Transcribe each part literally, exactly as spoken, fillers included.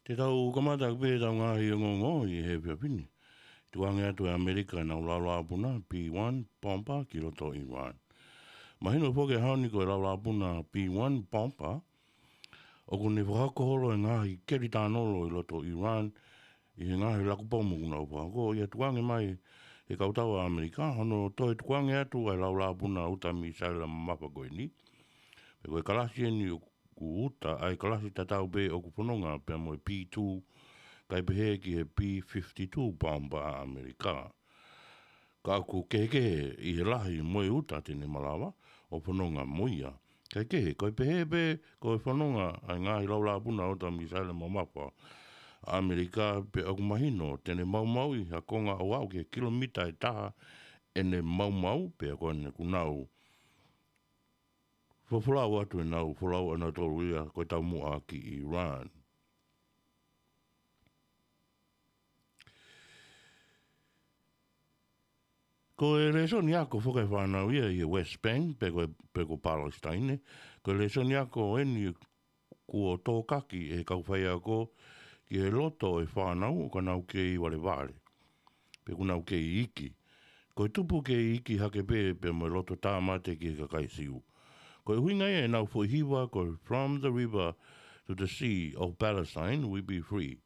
Te tau kamata pē ʻetau ngaahi ongoongo ʻi he efiafi ni. Tukuange atu ʻe ʻAmelika ʻenau laulāpuna B one bomber ki loto Iran. Mahino foki he ʻaho ni ko e laulāpuna B one bomber, ʻoku ne fakahoko holo e ngaahi keli tānolo ʻi loto Iran, ʻi he ngaahi laku pomu ʻoku nau fakahoko, ʻo tukuange mai he kautau ʻa ʻAmelika, hono toe tukuange atu ʻa e laulāpuna uta misaila mamafa ko eni. Pea ko e kalasi eni ʻoku uta, ʻa e kalasi tatau pē ʻoku fononga pea mo e B two, kae pehē ki he B fifty-two bomber ʻa ʻAmelika. Ka ʻoku kehekehe ʻi he lahi mo e uta te ne malava ʻo fononga mo ia. Kae kehe, ko e pehē pē ko e fononga ʻa e ngaahi laulāpuna uta misaila mamafa ʻa ʻAmelika, pea ʻoku mahino te ne maumauʻi ha konga ʻo aʻu ki he kilomita ʻe taha ʻene maumau, pea ko ʻene kuo nau fofolau atu ʻenau folau ʻanautolu ia ko e taumuʻa ki Iran. Ko e lēsoni ako foki ʻa e fānau ia ʻi he West Bank, pe ko, pe ko Palestine, ko e lēsoni ako eni kuo tōkaki ʻe he kau faiako ki he loto ʻo e fānau ʻoka nau kei valevale, pe ʻoku nau kei iiki. Ko e tupu kei iiki hake pē pea mo e loto tāmate ki he kakai Siu. Ko e ʻuhinga ia ʻenau foʻi hiva ko e From the River to the Sea of Palestine we be free.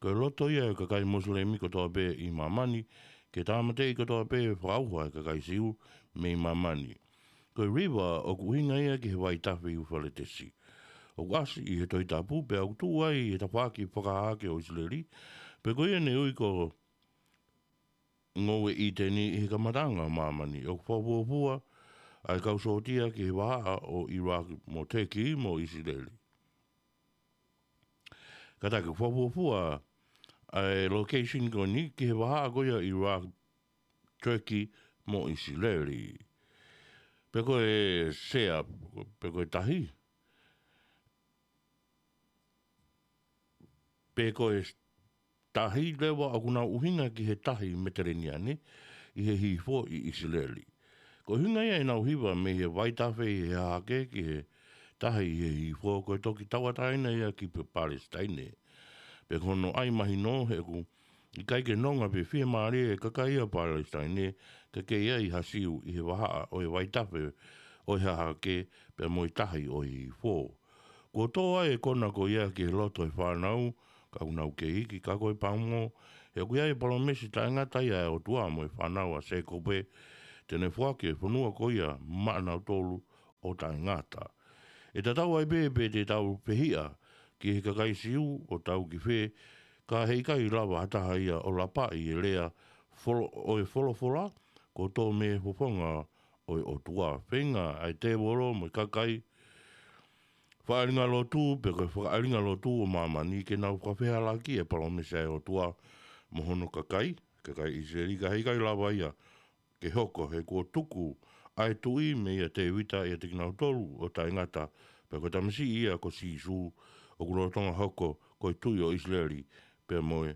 Ko e loto ia ʻo e kakai Mosilemi kotoa pē ʻi māmani, ke tāmateʻi kotoa pē fakaʻauha ʻa e kakai Siu mei māmani. Ko e river ʻoku ʻuhinga ia ki he vaitafe Iufaletesi. ʻOku ʻasi ʻi he Tohi Tapu, pea ʻoku tuʻu ai he tafaʻaki fakahahake ʻo ʻIsileli, pea ko ia ne ui ko Ngoue ʻĪteni ʻi he kamataʻanga ʻo māmani. ʻOku fakafuofua ʻa e kau sōtia ki he vahaʻa ʻo Iraq mo Turkey mo ʻIsileli. Kātaki, ʻoku fakafuofua ʻa e location ko eni ki he vahaʻa ko ia ʻo Iraq, Turkey mo ʻIsileli. Pe ko e sea, pe ko e tahi, pe ko e tahi leva ʻoku nau ʻuhinga ki he tahi Meteleniane ʻi he hihifo ʻi ʻIsileli. Ko e ʻuhinga ia ʻenau hiva mei he vaitafe ʻi he hahake ki he tahi ʻi he hihifo, ko e toki tauʻatāina ia ki Pe-, Palestine. Pea ko hono ʻai mahino he ʻoku ʻikai ke nonga pe fiemālie e kakai ʻa Palestine ke kei ʻi ai ha Siu ʻi he vahaʻa ʻo e vaitafe ʻo e hahake pea mo e tahi ʻo e hihifo. Kuo tō ai e kona ko ia ki he loto ʻo e fānau, ka ʻoku nau kei iiki, ka ko e pango, he ʻoku ʻi ai e palōmesi taʻengata ia ʻa e ʻOtua mo e fānau ʻa Sēkope, te ne foaki e fonua ko ia maʻanautolu ʻo taʻengata. ʻE tatau ai pē pe te tau fehiʻa ki he kakai Siu ʻo tau ki fē, ka heʻikai lava ha taha ia ʻo lapaʻi e lea folo-, ʻo e folofola, kuo tō mei he fofonga ʻo e ʻOtua. Feinga ʻa e tēvolo mo e kakai fakaʻalinga lotu, pe ko e fakaʻalinga lotu ʻo māmani, ke nau fakafehālaaki e palōmesi ʻa e ʻOtua mo hono kakai, kakai ʻIsileli, ka heʻikai lava ia ke hoko, he kuo tuku ʻa e tuʻi meia Tēvita ʻiate kinautolu ʻo taʻengata, pea ko e tamasiʻi ia ko Sīsū ʻoku lolotonga hoko ko e tuʻi ʻo ʻIsileli, pea mo e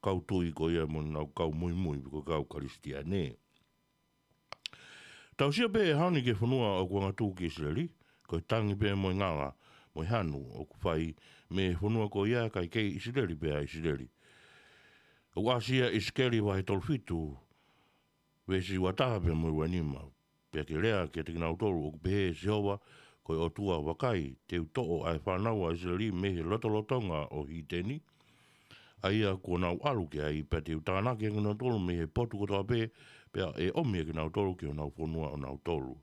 kau tui ko ia mo ʻenau kau muimui pe ko e kau Kalisitiane. Tau sio pē he ʻaho ni ki he fonua ʻoku angatū ki ʻIsileli, ko e tangi pē mo e ngala mo e hanu ʻoku fai mei he fonua ko ia kae kei ʻIsileli pē ʻa ʻIsileli. ʻOku ʻasi ia ʻi ʻIsikeli vahe tolu fitu, veesi ua taha pea mo e ua nima. Pea ke lea kiate kinautolu ʻoku pehē ʻe Sihova ko e ʻOtua, vakai, te u toʻo ʻa e fānau ʻa ʻIsileli mei he lotolotonga ʻo Hiteni, ʻa ia kuo nau ʻalu ki ai, pea te u tānaki ʻa kinautolu mei he potu kotoa pē, pea ʻe ʻomi ʻa kinautolu ki honau fonua ʻonautolu.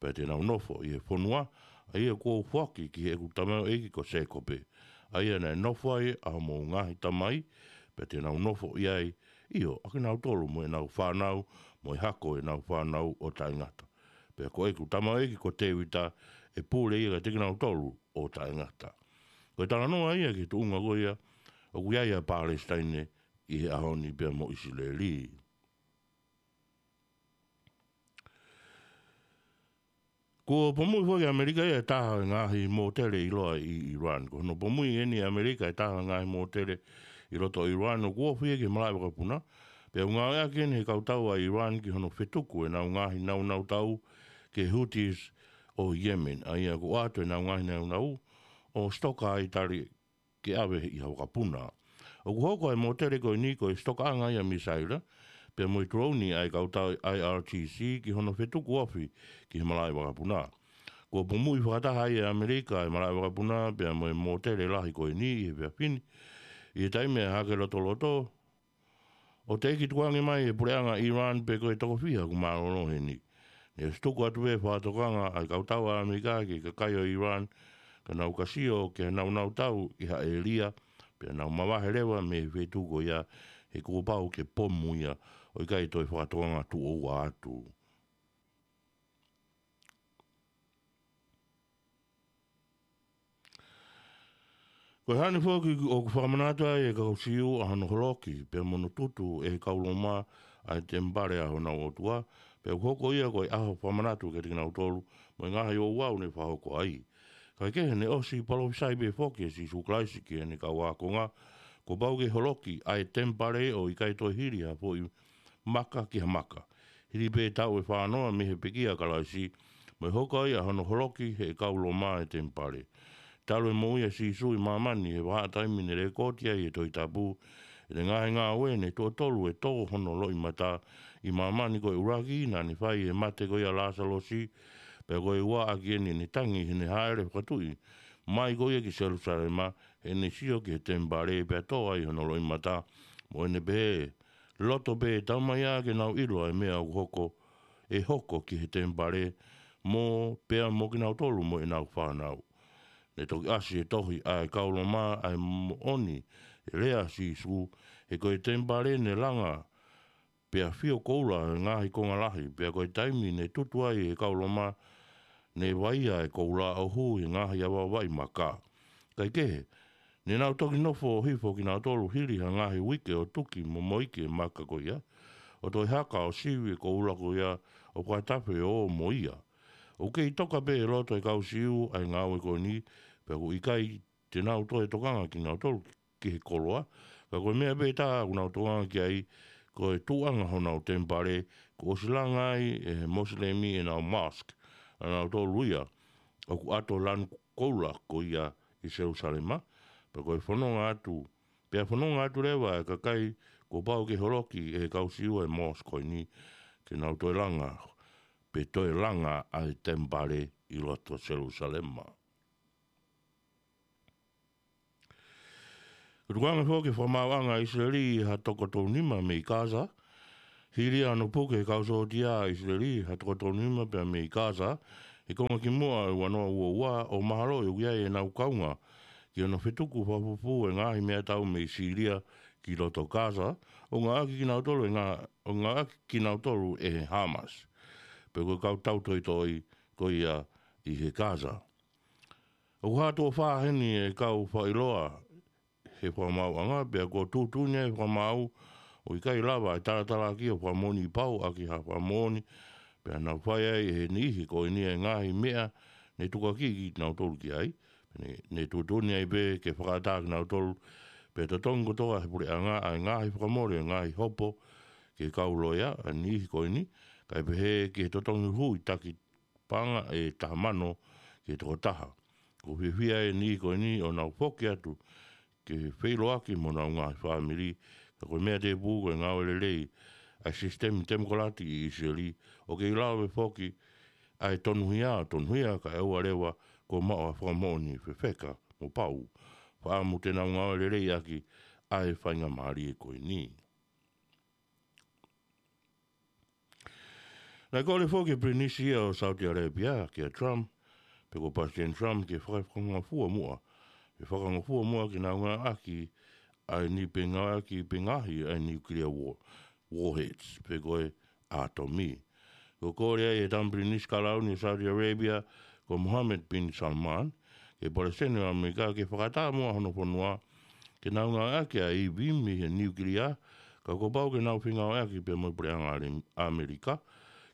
Pea te nau nofo ʻi he fonua ʻa ia kuo u foaki ki heʻeku tamaioʻeiki ko Sēkope, ʻa ia naʻe nofo ai ʻa hoʻomou ngaahi tamai, pea te nau nofo ʻi ai, ʻio, ʻa kinautolu mo ʻenau fānau, mo e hako ʻenau fānau ʻo taʻengata. Pea ko ʻeku tamaioʻeiki ko Tēvita ʻe pule ia kiate kinautolu ʻo taʻengata. Ko e talanoa ia ki he tuʻunga ko ia ʻoku ʻi ai ʻa Palesitaine ʻi he ʻaho ni pea mo ʻIsileli. Kuo pomui foki ʻe ʻAmelika ia e taha ʻo e ngaahi mōtele ʻiloa ʻi ʻIran. Ko hono pomui eni ʻe ʻAmelika e taha ʻo e ngaahi mōtele ʻi loto ʻIran, ʻoku ofi ia ki he malaʻe vakapuna. Pea ʻoku ngāueʻaki eni ʻe he kautau ʻa ʻIran ki hono fetuku ʻenau ngaahi nāunau tau ki he Houthis ʻo Yemen, ʻa ia ʻoku ʻoatu ʻenau ngaahi nāunau ʻo sitoka ai tali ke ʻave ʻi ha vakapuna. ʻOku hoko ʻa e mōtele ko eni ko e sitokaʻanga ia ʻa e misaila, pea mo e tulouni ʻa e kau tau ʻa e I R G C ki hono fetuku ofi ki he malaʻe vakapuna. Kuo pumuʻi fakataha ai ʻe ʻAmelika ʻa e malaʻe vakapuna pea mo e mōtele lahi ko eni ʻi he efiafi ni, ʻi he taimi ʻa e hake lotoloto, ʻo teʻeki tukuange mai ʻe he puleʻanga Iran pe ko e toko fiha ʻoku mālōlō heni. Ne ʻosi tuku atu pē fakatokanga ʻa e kau tau ʻa ʻAmelika ki he kakai ʻo Iran, ka nau ka sio ki he naunau tau ʻi ha ʻēlia, pea nau mavahe leva mei he feituʻu ko ia, he kuo pau ke pomu ia, ʻo ʻikai toe fakatokanga tuʻo ua atu. Ko e hā ni foki ʻoku fakamanatu ai ʻe he kau Siu ʻa hono holoki, pea mo hono tutu ʻe he kau Loma ʻa e temipale ʻa honau ʻOtua, pea ʻoku hoko ia ko e ʻaho fakamanatu kiate kinautolu, mo e ngaahi ouau ne fakahoko ai. Kaekehe ne ʻosi palōfisai pē foki ʻe Sīsū Kalaisi ki heʻene kau ākonga, kuo pau ke holoki ʻa e temipale ʻo ʻikai toe hili ha foʻi maka ki ha maka. Hili pē taʻu ʻe fānoa mei he pekia ʻa Kalaisi, mo e hoko ai ʻa hono holoki ʻe he kau Loma ʻa e temipale. Talu e moʻui ʻa Sīsū ʻi māmani he vahaʻa taimi ne lēkooti ai ʻe he Tohi Tapu, ʻene ngaahi ngāue ne tuʻo tolu ʻe tō hono loʻimata ʻi māmani, ko e ʻuluaki naʻa ne fai ʻi he mate ko ia ʻa Lāsalosi, pea ko e ua ʻaki eni ne tangi heʻene hāʻele fakatuʻi mai ko ia ki Selūsalema, heʻene sio ki he temipale pea tō ai hono loʻimata, mo ʻene pehē, loto pē, taumaiā ke nau ʻilo ʻa e meʻa ʻoku hoko, ʻe hoko ki he temipale, mo pea mo kinautolu mo ʻenau fānau. Ne toki ʻasi ʻi he tohi ʻa e kau Loma ʻa e moʻoni ʻa e lea ʻa Sīsū, he ko e temipale ne langa pea fio koula ʻa e ngaahi konga lahi, pea ko e taimi ne tutu ai ʻe he kau Loma, ne vaia ʻa e koula ʻo hū ʻi he ngaahi avaʻavaʻi maka. Kaekehe, ne nau toki nofo ʻo hifo kinautolu hili ha ngaahi uike ʻo tuki mo moiki e maka ko ia, ʻo toe haka ʻo sivi e koula ko ia, ʻo fakatafe ʻo ō mo ia. ʻOku kei toka pē ʻi loto ʻa e kau Siu ʻa e ngāue ko eni, pea ʻoku ʻikai te nau toe tokanga kinautolu ki he koloa, ka ko e meʻa pē taha ʻoku nau tokanga ki ai, ko e tuʻuʻanga honau temipale, kuo ʻosi langa ai ʻe he Mosilemi ʻenau mosque, ʻanautolu ia, ʻoku ʻato lanu koula ko ia ʻi Selūsalema, pea ko e fononga atu, pea fononga atu leva ʻa e kakai kuo pau ke holoki ʻe he kau Siu ʻa e mosque ko eni, ke nau toe langa, pe toe langa ʻa e temipale ʻi loto Selūsalema. Tukuange foki e fakamaauʻanga ʻa ʻIsileli ha toko tolunima mei Gaza. Hili ʻa hono puke ʻe he kau sōtia ʻa ʻIsileli ha toko tolunima pea mei Gaza, he konga kimuʻa ʻo e ua noa ua ua, ʻo mahalo ʻe ui ai ʻenau kaunga ki hono fetuku fakafufū e ngaahi meʻatau mei Sīlia ki loto Gaza, ʻo ngāueʻaki kinautolu ʻe ngā-, ʻo ngāueʻaki kinautolu ʻe he Hamas, pe ko e kau tautoitoi ko ia ʻi he Gaza. ʻOku hā tuʻo fā heni e kau fakaʻiloa he fakamaauʻanga, pea kuo tuʻutuʻuni ʻa e fakamaau ʻo ʻikai lava ʻa e talatalaaki ʻo fakamoʻoni pau ʻaki ha fakamoʻoni, pea nau fai ai ʻe he niʻihi ko eni e ngaahi meʻa ne tukuakiʻi kinautolu ki ai, pea ne, ne tuʻutuʻuni ai pē ke fakaʻatā kinautolu, pea totongi kotoa ʻe he puleʻanga ʻa e ngaahi fakamole ʻo e ngaahi hopo ki he kau loea ʻa e niʻihi ko eni, kae pehē ki he totongi huhuʻi taki paʻanga ʻe taha mano ki he toko taha. ʻOku fiefia ʻa e niʻihi ko eni ʻo nau foki atu ke feʻiloaki mo honau ngaahi fāmili, ka ko e meʻa tēpū ko e ngāue lelei ʻa e sisitemi temokalati ʻi ʻIsileli, ʻo kei lava foki ʻa e tonuhia, tonuhia kae ʻoua leva kuo maʻu ha fakamoʻoni fefeka mo pau. Fakaʻamu te nau ngāue lelei ʻaki ʻa e faingamālie ko eni. Naʻe kole foki e Pilinisi ia ʻo Saudi Arabia, kia Trump, pe ko Palesiteni Trump, ke fakangofua muʻa, ke fakangofua muʻa ke nau ngāueʻaki ʻa e niʻihi pē ngāueʻaki pē ngaahi ʻa e nuclear war-, warheads, pe ko e ʻātomi. Ko e kole ia ʻa e tama Pilinisi Kalauni ʻo Saudi Arabia, ko Mohammed bin Salman, ki he Palesiteni ʻo ʻAmelika ke fakaʻatā muʻa hono fonua, ke nau ngāueʻaki ʻa e ivi mei he nuclear, ka kuo pau ke nau fengāueʻaki pea mo e puleʻanga ʻAmelika,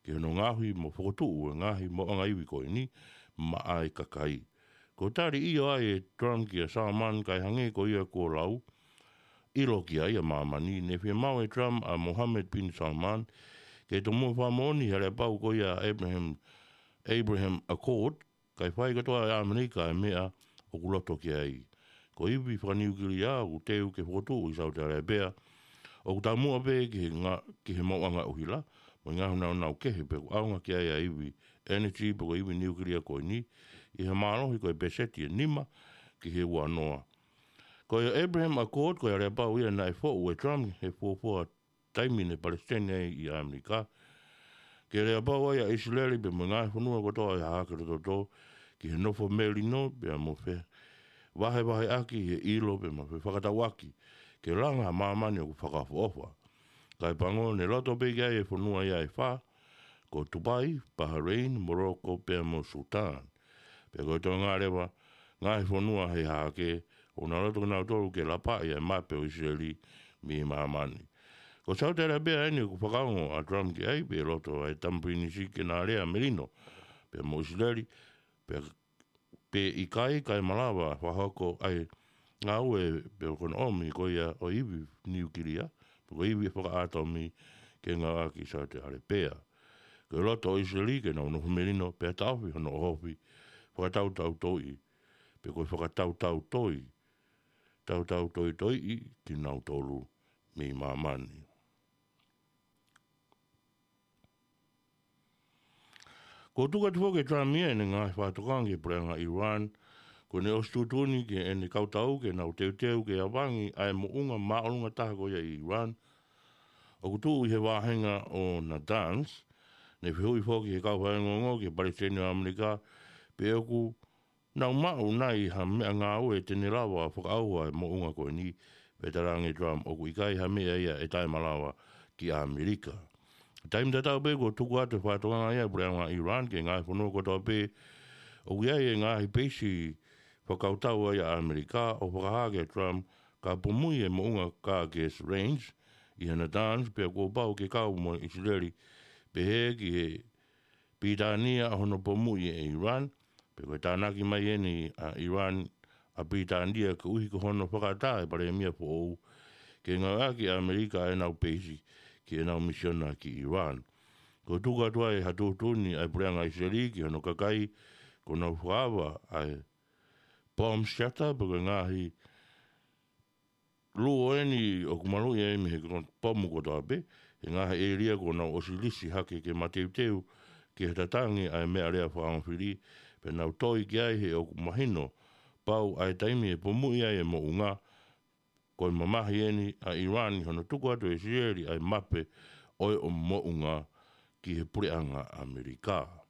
ki hono ngaohi mo fokotuʻu e ngaahi moʻunga ivi ko eni maʻa e kakai. Ko e tali ʻio ai ʻe Trump kia Salman kae hangē ko ia kuo lau ʻilo ki ai ʻa māmani, ne fiemaʻu ʻe Trump ʻa Mohammed bin Salman, ke tomuʻa fakamoʻoni he aleapau ko ia Abraham, Abraham Accord, kae fai kotoa ʻe ʻAmelika e meʻa ʻoku loto ki ai. ko e ivi fakaniukilia ʻoku teu ke fokotuʻu ʻi Saute Alapea, ʻoku taumuʻa pē ki he nga-, ki he maʻuʻanga ʻuhila, mo e ngaahi nāunau kehe pea ʻoku ʻaonga ki ai ʻa e ivi ʻenesi pe ko e ivi niukilia ko eni, ʻi he mālohi ko e peseti ʻe nima ki he uanoa. Ko e Abraham Accord, ko e aleapau ia naʻe foʻu ʻe Trump he fuofua taimi ne palesiteni ai ʻi ʻAmelika. Ke aleapau ai ʻa ʻIsileli pea mo e ngaahi fonua kotoa ʻi he Hahake Lototoʻa ki he nofo melino pea mo e fevahevaheʻaki ʻi he ʻilo pea mo e fefakatauʻaki ke langa ʻa māmani ʻoku fakaʻofoʻofa. Kae pango ne loto pē ki ai e fonua ia ʻe fā, ko Tupai, Pahaleini, Moloko pea mo Sutan. Pea ko e toenga leva, ngaahi fonua he Hahake, ʻoku nau loto kinautolu ke lapaʻi ʻa e mape ʻo ʻIsileli mei māmani. Ko Saute Alapea eni ʻoku fakaongo ʻa Trump ki ai, pea loto ʻa e Tama Pilinisi ke na lea melino pea mo ʻIsileli, pea, pe ʻikai kae malava fakahoko ʻa e ngāue pea ko hono ʻomi ko ia ʻo e ivi niukilia, pe ko e ivi fakaʻatomi ke ngāueʻaki ʻi Saute Alapea. Ko e loto ʻo ʻIsileli ke nau nofo melino pea taʻofi hono ʻohofi fakatautau toiʻi, pe ko e fakatautau toi, tautau toitoiʻi kinautolu mei māmani. Kuo tuku atu foki ʻe Trump ia ʻene ngaahi fakatokanga ki he puleʻanga ʻIulan, ko ʻene ʻosi tuʻutuʻuni ki heʻene kau tau ke nau teuteu ke avangi ʻa e moʻunga māʻolunga taha ko ia ʻi ʻIulan, ʻoku tuʻu ʻi he vāhenga ʻo Natanz. Ne fehuʻi foki ʻe he kau faiongoongo ki he Palesiteni ʻo ʻAmelika pe ʻoku nau maʻu nai ha meʻangāue te ne lava fakaʻauha e moʻunga ko eni, pea talaange ʻe Trump ʻoku ʻikai ha meʻa ia ʻe taʻemalava ki ʻAmelika. Taimi tatau pē kuo tuku atu e fakatokanga ia ʻa e puleʻanga ʻIulan ki he ngaahi fonua kotoa pē ʻoku ʻi ai e ngaahi peisi fakakautau ai ʻa ʻAmelika, ʻo fakahā kia Trump ka pomuʻi e moʻunga Karkes Range ʻi he Natanz, pea kuo pau ke kau mo ʻIsileli pehē ki he Pilitānia ʻa hono pomuʻi ʻe ʻIulan, pea ko e tānaki mai eni ʻa ʻIulan ʻa Pilitānia koeʻuhi ko hono fakaʻatā e palēmia foʻou ke ngāueʻaki ʻe ʻAmelika ʻenau peisi ki heʻenau misiona ki ʻIulan. Kuo tuku atu ai ha tuʻutuʻuni ʻa e puleʻanga ʻIsileli ki hono kakai kuo nau fakaava ʻa e bomb shelter pe ko e ngaahi luo eni ʻoku maluʻi ai mei he kon-, pomu kotoa pē, he ngaahi ʻēlia kuo nau ʻosi lisi hake ke mateuteu ki he tatangi ʻa e meʻalea fakaongo fili, pea nau toi ki ai he ʻoku mahino pau ʻa e taimi ʻe pomuʻi ai e moʻunga. Ko e mamahi eni ʻa ʻIulan ʻi hono tuku atu ʻe ʻIsileli ʻa e mape ʻo e ʻo moʻunga ki he puleʻanga ʻAmelika.